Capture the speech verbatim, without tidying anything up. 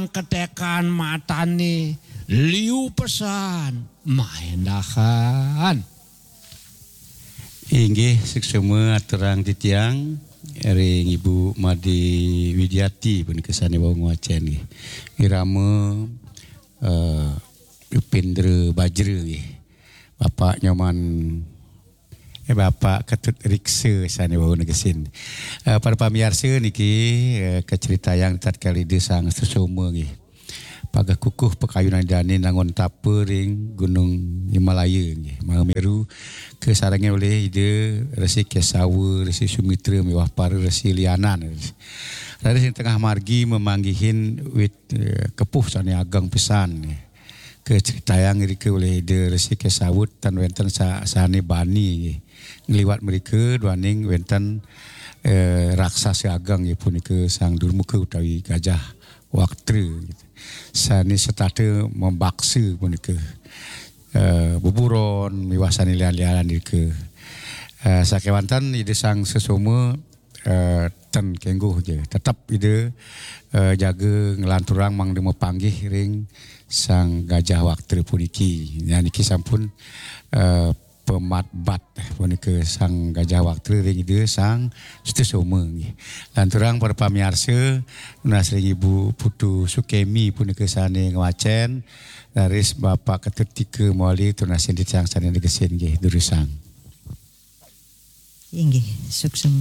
ketekan matane liu pesan maendahan. Inggih, suksma aturang titiang ring Ibu Made Widiati punika sane wau ngwacen nggih. Irama eh, Upendra Bajra nggih. Bapak Nyoman eh, Bapak Ketut Riksa sane wau negesin. Eh, para pamiarsa niki eh, kacritayang tatkala Ida Sang Sesoma nggih. Pageh kukuh pakayunan dane nangun tapa ring Gunung Himalaya nggih. Mahameru kasarengin olih Ida Resi Kesawa, Resi Sumitra miwah para resi lianan. Raris ring tengah margi mamanggihin wit eh, kepuh sane ageng pisan nggih. Kacritayang irika olih Ida Resi Kesawa tan wenten sa, sane bani nggih. Ngliwat mrika duaning wenten eh, raksasa ageng nggih punika Sang Durmuka utawi Gajah Waktra gitu. Sane setata mabaksa punika eh, buburon miwah sane lian-lianan irika. Eh, sakewanten Ida Sang Sesoma eh, ten kengguh ja. Tetep Ida eh, jaga nglanturang mangda mapanggih ring Sang Gajah Waktra puniki. Nya niki sampun eh, pematbat punika Sang Gajah Waktra ring Ida Sang Sutasoma nggih. Lanturang para pamiarsa, nunas ring Ibu Putu Sukemi punika sane ngwacen, raris Bapak Ketut Tika mawali tunas ring titiang sane negesin nggih, durusang. Inggih, suksma.